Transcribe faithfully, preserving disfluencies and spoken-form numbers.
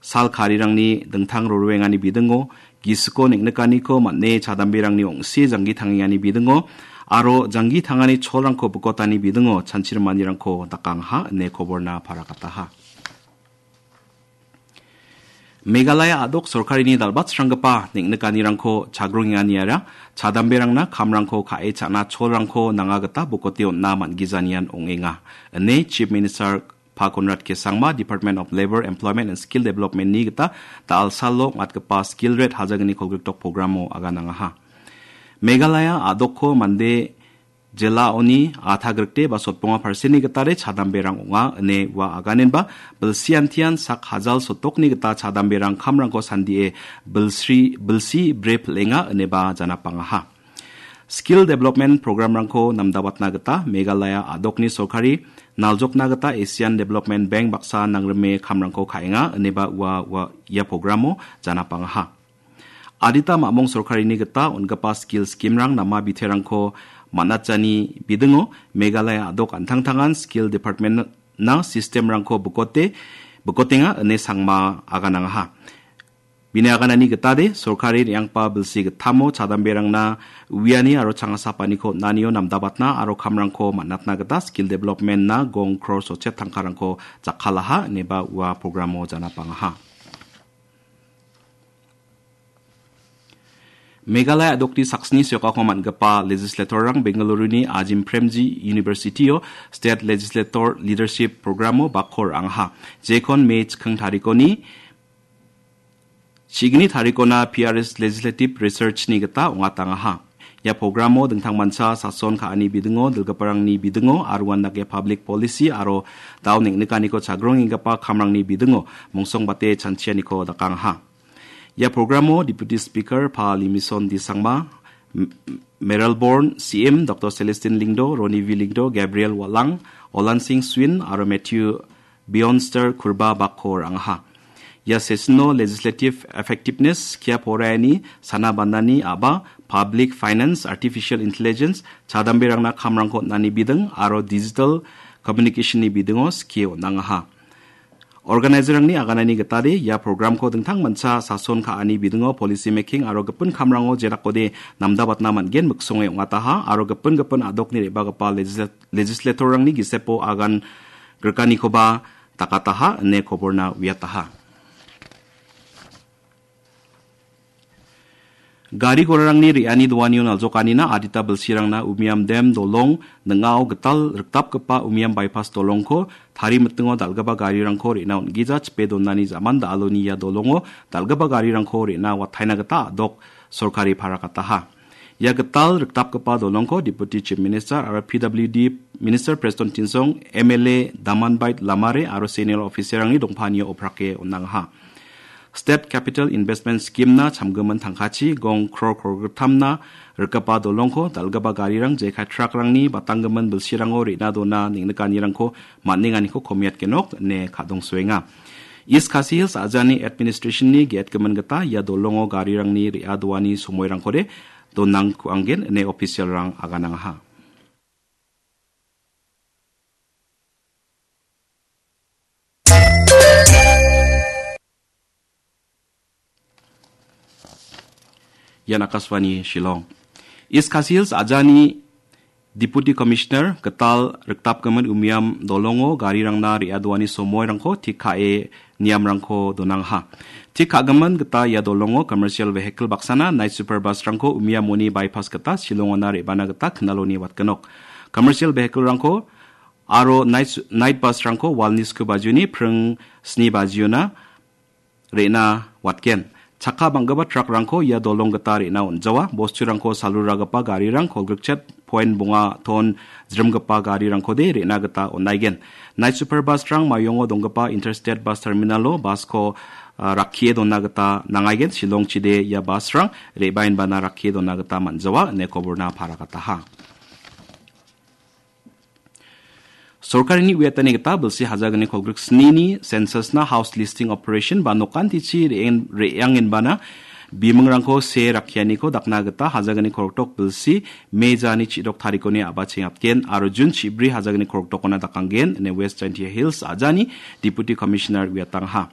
sal karirangni dingtang rorwengani bidingo, gisiko neng·nikaniko man·e chadamberangni ong·si janggi tangengani bidingo, aro janggi tangani cholrangko bikotani bidingo chanchirimanirangko dakangaha ine koborna parakataha. Meghalaya a·dok sorkarini dal·batsranggipa neng·nikanirangko chagrongenganiara chadamberangna kamrangko ka·e cha·na cholrangko nanga gita bokote on·na man·gijanian ong·enga, ine Chief Minister Pa Conrad K Sangma, Department of Labour, Employment and Skill Development-ni gita da·alsalo ong·atgipa Skill Red hajalni kolgrikdok programo aganangaha. Meghalaya a·dokko mande jelaoni atha grikde ba sotbonga parseni gitade chadamberang ong·a ine ua aganenba bilsiantian sak hajal sotokni gita chadamberang kamrangko sandie bilsri-, bilsi bre pil·enga ineba janapangaha. Skill Development Programrangko namdabatna gita Meghalaya a·dokni sorkari naljokna gita Asian Development Bank baksa nangrime kamrangko ka·enga ineba ua, ua ia programo janapangaha. Adita mamung sorkarini gita on·gipa skill scheme-rang nama biterangko man·atjani bidingo Meghalaya a·dok an·tangtangan Skill Department-na system-rangko bikote, bikotenga ine Sangma aganangaha. Bini aganani gitade, sorkari re·anggipa bilsi gittamo chadamberangna uiani aro changasapaniko on·anio namdabatna aro kamrangko man·atna gita Skill Development-na gong crore sotchet tangkarangko jakkalaha ineba ua programo janapangaha. Meghalaya a·dokni saksni sokako man·gipa legislator-rang Bengaluru-ni Azim Premji University-o State Legislator Leadership Programo bakko ra·angaha. Jekon May chikking tarikoni, chigni tarikona P R S Legislative Research-ni gita ong·atangaha. Ia programo dingtangmancha sason ka·ani bidingo, dilgiparangni bidingo, aro uandake public policy aro dao neng·nikaniko chagrongenggipa kamrangni bidingo mongsongbate chanchianiko dakangaha. Ia programo Deputy Speaker Pa Limison D Sangma, M-, Mayralborn C M Doctor Celestine Lyngdoh, Ronnie V Lyngdoh, Gabriel Walang, Olan Singh Swin aro Matthew Bionster Kurba bakko ra·angaha. Ia session-o legislative effectiveness, skia poraiani, sana bandani a·ba, public finance, artificial intelligence, chadamberangna kamrangko on·ani biding aro digital communication-ni bidingo skie on·angaha. Organizer-rangni aganani gitade ia programko dingtangmancha sason ka·ani bidingo policy making aro gipin kamrango jerakode namdabatna man·gen miksonge ong·ataha aro gipin gipin a·dokni re·bagipa legisla-, legislator-rangni gisepo agan grikanikoba dakataha ine koborna uiataha. Gari gorarangni re·ani doanio naljokanina adita bilsirangna Umiam Dam dolong ning·ao gital rikdapgipa Umiam Bypass dolongko tari mitingo dal·gipa garirangko re·na on·gija chipe donani ja·man da·aloni ia dolongo dal·gipa garirangko re·na wataina gita a·dok sorkari parakataha. Ia gital rikdapgipa dolongko Deputy Chief Minister aro P W D Minister Prestone Tynsong, M L A Damanbait Lamare aro senior officer-rangni dongpanio oprake on·angaha. State Capital Investment Scheme-na chamgimin tangkachi gong crore kolgrittamna rikgipa dolongko dal·gipa garirang jekai truck-rangni batanggimin bilsirango re·na dona neng·nikanirangko man·enganiko komiatgenok ine kadongsoenga. East Khasi Hills a·jani administration-ni ge·etgimin gita ia dolongo garirangni re·adoani somoirangkode donangkuanggen ine official-rang aganangaha. Ian Akashvani Shillong. East Khasi Hills a·jani Deputy Commissioner gital rikdapgimin Umiam dolongo garirangna re·adoani somoirangko tik ka·e niamrangko donangaha. Tik ka·gimin gita ia dolongo commercial vehicle baksana night super bus-rangko Umiamoni bypass gita Shillongona re·bana gita knaloni watgenok. Commercial vehicle-rangko aro night, night bus-rangko walni sku bajioni pring sni bajiona re·na watgen. Chakka bang·gipa truck-rangko ia dolong gita re·na on·jawa. Bosturangko saluragipa garirang kolgrikchet point bonga ton jrimgipa garirangkode re·na gita on·aigen. Night super bus-rang Mayongo donggipa Interstate Bus Terminal-o bus-ko, ah, rakkie dona gita nangaigen. Shillongchide ia bus-rang re·baenbana rakkie dona gita man·jawa ine koborna paragataha. Sorkarini uiatani gita bilsi hajalni kolgrik snini census-na house listing operation ba nokantichi re·en-, re·angenbana bimingrangko see rakkianiko dakna gita hajalni kolgrikdok bilsi May jani chidok tarikoni a·bachengapgen aro Jun chibri hajalni kolgrikdokona dakanggen ine West Jaintia Hills a·jani Deputy Commissioner uiatangaha.